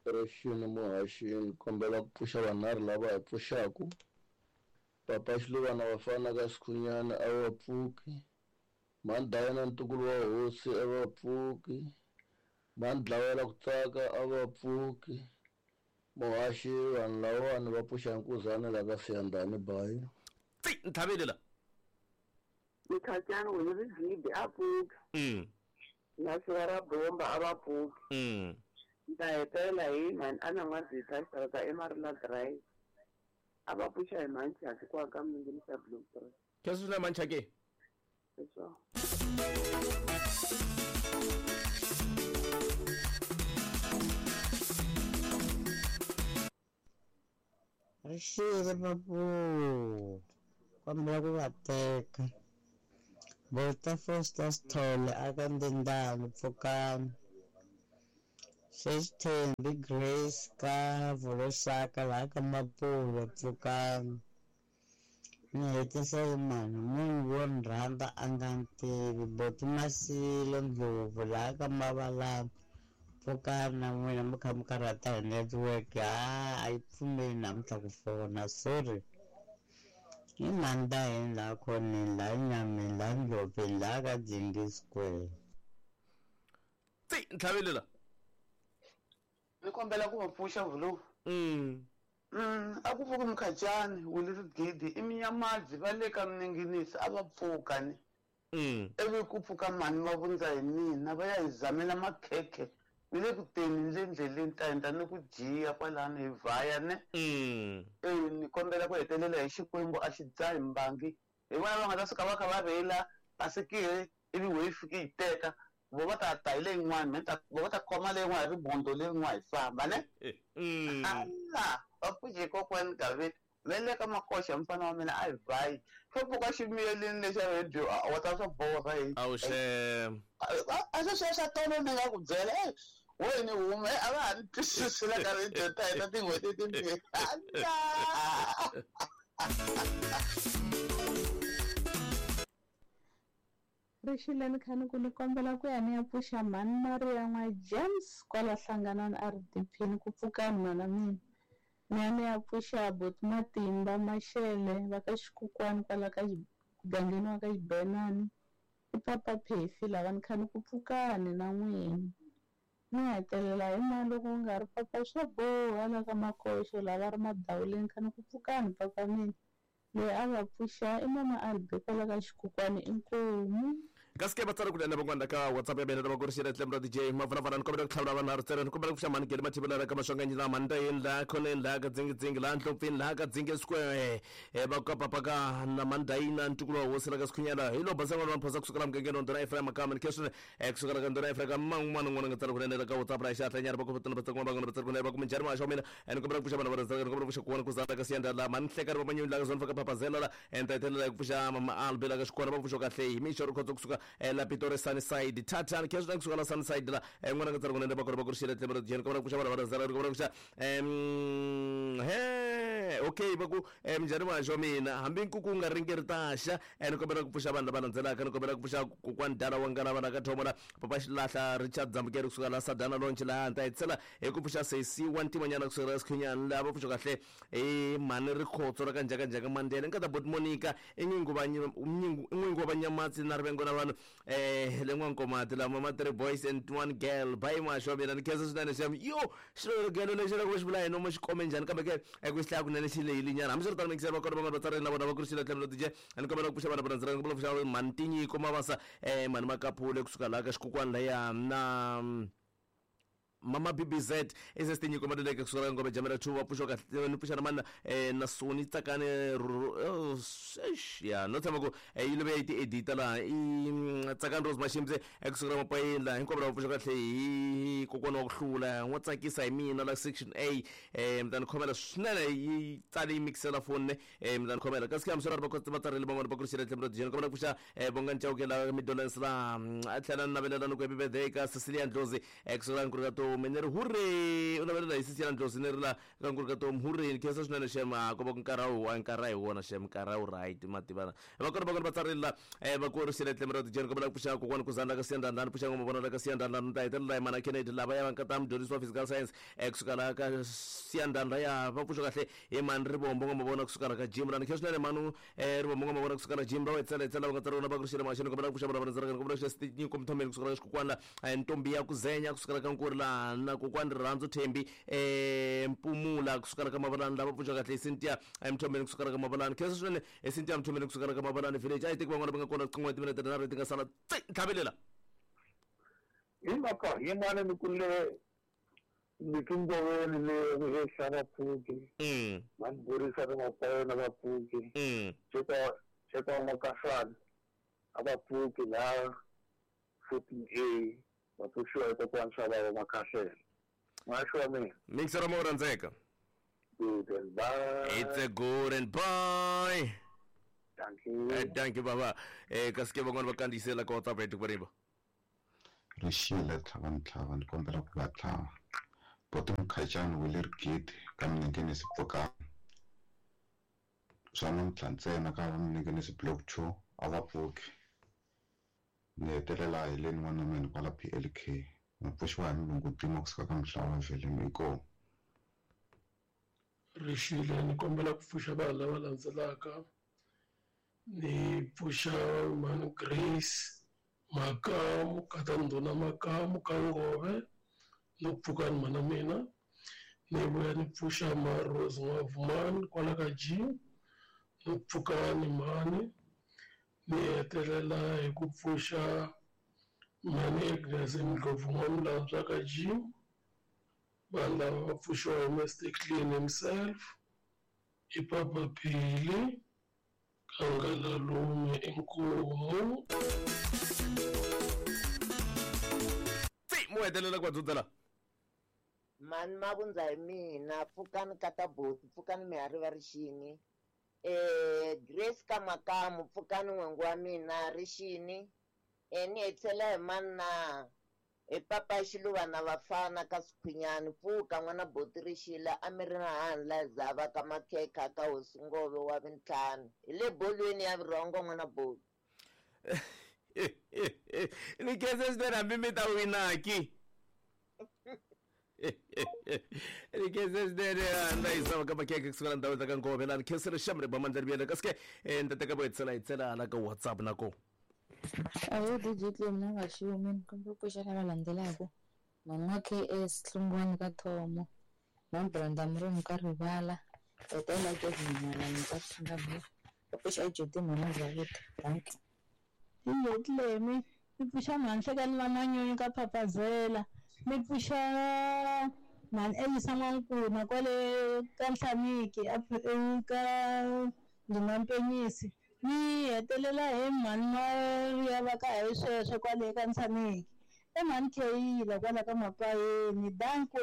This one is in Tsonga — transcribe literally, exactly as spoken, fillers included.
Rixini muhaxini kombela ku pfuxa vanharhu lava hi pfuxaku. Papa Xiluvana vafana ka Sikhunyana a va pfuki. Mhani Dayana ntukulu wa hosi a va pfuki. Mhani Dlawela ku tsaka a va pfuki. Muhaxi vanhu lavawani va pfuxa nkuzana la ka Siyandhani bayi. Tsi nthavele la. Mkhachana wena ri a pfuki. Mm. Na sivara bomba a va pfuki. Mm. Nta hetelela hi mhani a na n'wazisa xitarata eMarula Drive. A va pfuxa hi manchaki kwa ka minginisa Blue Three. Keswi na manchaki? Leswo. Rixile papu kombela ku va teka Bota Foster Sithole aka Ndendani Pfukani Sesithembi Grace ka Volosaka laha ka Mapulo Pfukani ni hetisa hi mani munhu wo ni rhandza a nga ni tivi Boti Masilo Ndlovu laha ka Mavalani Pfukani na n'wina mi kha mi karhata hi network ha a yi pfumeli namuntlha ku fona sorry i Mandaheni laha khoneni laha Nyameni laha Ndlopeni laha ka Dzingi Square. Tsi ntlhavele la. Ni kombela ku va pfuxa vulu. Mm. Mm, a ku pfuki Mkhachani Wili Rigidi i Minyamadzi va le ka Mninginisi a va pfuka ni. Mm. Ivi ku pfuka mhani va vundza hi mina va ya hi zamela makhekhe ni le ku teni ni le ndleleni ta endla ni ku jiya kwalano hi vhaya ne. Mm. E ni kombela ku hetelela hi Xikwembu a xi dzahi mbangi hi vona va nga ta suka va kha va rheyila basikiri ivi wehe yi fiki yi teka vo va ta ta hi leyin'wani me ta vo va ta khoma leyin'wana hi ribondo leyin'wana hi famba ne. Mm. Ala va pfuxe kokwani Gaveni me le ka makoxa mfana wa mina a hi vhayi swo pfuka ximiyelini lexa radio wa ta swo borha hi Awuxe. a swi sweswo swa tolo ni nga ku byela e we ni hume a va ha ni twisisi la ka radio ta hina tin'hweti timbirhi ala Rixile ni kha ni ku ni kombela ku ya ni ya pfuxa mhani Maria n'wa James kwala Hlanganani R D P ni ku pfukani mhana mina. Ni ya ni ya pfuxa Boti Matimba Mashele va ka Xikukwani kwala ka mugangeni wa ka Xibenani. I Papa Phefi lava ni kha ni ku pfukani na n'wina. Ni hetelela hi mani loko ku nga ri papa swo boha la ka Makoxo lava ri madawuleni kha ni ku pfukani papa mina. Loyi a va pfuxa i mama Albi kwala ka Xikukwani inkomu. Kasi ke va tsala ku lena van'wana ka WhatsApp ya mina lava ku ri xile tlhelo ra D J Mavunavana ni kombela ku tlhavula vanharhu ntsena ni kombela ku pfuxa mhani Gele Mathivela la ka Maswanganyi laha Mandaheni laha Khoneni laha ka Dzingidzingi laha Ndlopfini laha ka Dzingi Square eh va ka papa ka na Mandayina ntukulu wa hosi la ka Sikhunyana hi lo basa n'wana wa Mphosa kusuka la mugangeni wa Ndhuna Ephraim Makama ni kheswini eh kusuka la ka Ndhuna Ephraim man'wana n'wana nga tsala ku lena ka WhatsApp ra xihatla nyana va ku va tsala van'wana va tsala ku lena va ku minjhani muhaxi wa mina ni kombela ku pfuxa vanhu va rhandza ni kombela ku pfuxa kuwana ku zala ka Siyanda la mhani Nhlekani va Manyoni la ka Zone ka Papazela la ni ta hetelela hi ku pfuxa mama Albi la ka Xikwana va pfuxa kahle hi mixo ri khotso kusuka la Pitori Sunnyside Thathani kheswi na kusuka la Sunnyside la n'wana nga tsala ku lena va kona va ku ri xile tlhelo ra D J ni kombela ku pfuxa vanhu va rhandza ni kombela ku pfuxa em he okay va ku minjhani muhaxi wa mina hambi nkuku wu nga ringeri taxa ni kombela ku pfuxa vanhu lava landzelaka ni kombela ku pfuxa kokwani Dala wa ngana vana ka Thomo la Papa Xilahla Richard Dzambukeri kusuka la Sadana Lonch laha ni ta hetisela hi ku pfuxa Sesi wa Ntimanyana kusuka la Sikhunyana lava pfuxa kahle hi mhani Rikhotso ra ka Njhakanjhaka Mandela nkata Boti Monica i n'wingi va n'wingi wa Vanyamatsi na rivengo na vanhu eh le N'wankomati lama ma three boys and one girl bye muhaxi wa mina ni khensa swinene xem yo xilogelo lexi loko xi vula hi nomo xi kome njhani kambe ke ku xi hlaya kunene xi lehile nyana hambiswiritano mikisela va kona van'wana va tsarile na vona va ku ri xile tlhelo D J ni kombela ku pfuxa vana va rhandzela ni kombela ku pfuxa mhani Tinyiko Mavasa eh mhani Makaphule kusuka laha ka Xikukwani laya na Mama B B Z S S Tinyiko Maluleke kusuka la Ngome Jamela two va pfuxa kahle ni pfuxa na mani eh na Soni Tsakani ya no tshama ku yi love yi ti edita laha i Tsakani Rose Mashimbe kusuka la Mapayeni laha hinkwavo lava pfuxa kahle hi kokwana wa ku hlula n'wa tsakisa hi mina la section A eh mi ta ni khomela swinene yi tsale yi mixela phone ne eh mi ta ni khomela kasi hambiswiritano va va tsarile van'wana va ku ri xile tlhelo ra D J ni kombela ku pfuxa Bongani Chauke la Midolens la a tlhela ni navelela ni ku happy birthday ka Cecilia Ndlozi kusuka la Nkurikato Tomu ni ri hure u navelela hi sisi ya Ndlozi ni ri la ka Nkulu ka Tomu hure ni khensa swinene shema ko va ku nkarhi wu a nkarhi hi wona shem nkarhi wu right mativana va kona va kona va tsarile la eh va ku ri xile tlhelo ra tijeni kombela ku pfuxa kokwani ku zandla ka siyandhandlani pfuxa ngoma vona la ka siyandhandlani ta hetelela hi mana Kennedy lava ya va nkata mudyondzisi wa physical science eh kusuka la ka siyandhandla ya va pfuxa kahle hi mani Rivombo ngoma vona kusuka la ka gym lani khensa swinene manu eh Rivombo ngoma vona kusuka la gym va wetsela etsela va nga tsariwa va ku ri xile maxini kombela ku pfuxa vona va rhandzaka kombela ku pfuxa Nyiko Mthombeni kusuka la ka xikokwana la Ntombi ya Kuzenya kusuka la ka Nkuri la na kokwani Rirhandzu Thembi eh Mpumula kusuka la ka Mavalani lava pfuxa kahle Cynthia Mthombeni kusuka la ka Mavalani khensa swinene Cynthia Mthombeni kusuka la ka Mavalani village a yi teki van'wana va nga kona qin'we timinete tinharhu ti nga sala tlhavelela hi mhaka yin'wana ni ku le mikingoveni le henhla vapfuki va ni burisa ni mapayona vapfuki cheka cheka Makasana a vapfuki laha fourteen A va pfuxiwa hi kokwana swa va Makahlela n'waxi wa mina mixer mo rhandzeka. Good and bye. It's a good and bye. Thank you. Eh, thank you baba. Eh kasi ke van'wana va kandziyisela ka WhatsApp ya tiko riba. Rixile tlhava ni tlhava ni kombela ku va tlhava. Boti Mkhacani wa le Rigidi ka Minengenisi pfukani. Swa namuntlha ntsena ka Minengenisi block two a va pfuki. Ni hetelela hi le n'wana wa mina kwala P L K. Ni pfuxiwa hi mulungu Dimo kusuka ka Mhlava Veleni inkomu. Rixile ni kombela ku pfuxa vanhu lava landzelaka. Ni pfuxa mhani Grace Makamu kata Ndhuna Makamu ka Ngove no pfuka ni mana mina. Ni vuya ni pfuxa ma Rose N'wavumani kwala ka G no pfuka ni mhani. Ni hetelela hi ku pfuxa mhani Agnes Ndlovu N'wamulambya ka G. Vanhu lava va pfuxiwa hi Mister Clean himself i Papa Phili Kangalalume inkomu. Tsi mo hetelela ku va dzudzela. Mani mavundza hi mina pfukani kata boti pfukani mihari va rixini eh Grace ka Makamu pfukani n'wengu wa mina rixini eh ni hetelela hi mana hi papa Xiluva na vafana ka Sikhwinyani pfuka n'wana boti rixile a mi ri na handla zava ka Makhekha ka Hosi Ngove wa vintlhanu hi le bolweni ya vurhongo n'wana boti. Ni khensa swinene hambi mi ta winaki. Ni khensa swinene handla yi zava ka Makhekha kusuka la ndhawu ta ka Ngove lani khensile xamre ba mandla riviyela kasi ke ni ta teka vo hetisela hi tsela hala ka WhatsApp na ko. Ayo D J Clem na nga xiumi ni kombela ku pfuxa lava landzelaka mhani wa K S Hlungwani ka Thomo na Brenda Murungu ka Rivala hetelela Kevin Malani ka Singapore va pfuxa Jodi mhana Zawuta. Thank you. D J Clem ni pfuxa mhani Hlekani va Manyunyu ka Papazela ni pfuxa mhani Elisa N'wankuna kwale ka Nhlamiki ka Ndhuna Mpenyisi ni hetelela hi mhani Maria va ka hi sweswo kwale ka Nhlamiki i mhani Kheyila kwala ka Mapayeni. Danko.